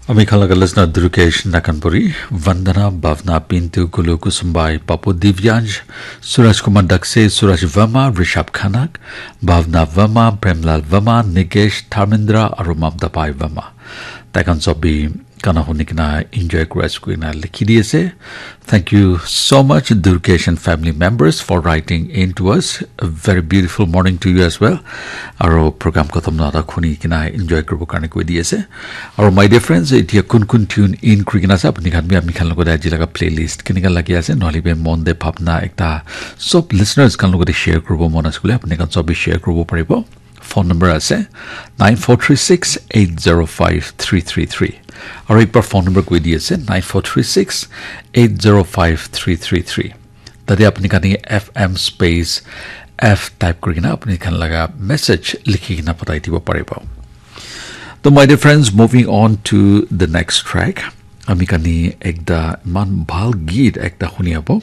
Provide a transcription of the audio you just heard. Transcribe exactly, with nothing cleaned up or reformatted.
Ami khan laga listener Durkesh Nakanpuri, Vandana, Bhavna, Pintu, Gulu, Kusumbai, Papu, Divyansh, Suraj Kumar Dakse, Suraj Verma, Rishabh Khanak, Bhavna Verma, Premlal Verma, Nikesh, Dharmendra, aru Mamta Pai Verma. Tai khan sob bi gana huni kena enjoy kuri ase koina likhi di ase. Thank you so much, Durkesh and family members, for writing in to us. A very beautiful morning to you as well. Aro program khatam na ta khuni kena enjoy kuribo karne koi di ase. Aro my dear friends, etia kun kun tune in kuri kena ase, apni khan bi ami khan logote aji laga playlist kenika lagi ase, nohole bi mon de bhabna ekta sob listeners khan logote share kuribo mon ase koile, apni khan sob bi share kuribo paribo. Phone number ase nine four three six eight zero five three three three. Aro ekbar phone number koi di ase nine four three six eight zero five three three three. Tate apni khan F M space F type kuri kena apni khan laga message likhi kena patai dibo paribo. To my dear friends, moving on to the next track. Ami khan ekta iman bhal geet ekta huni abo.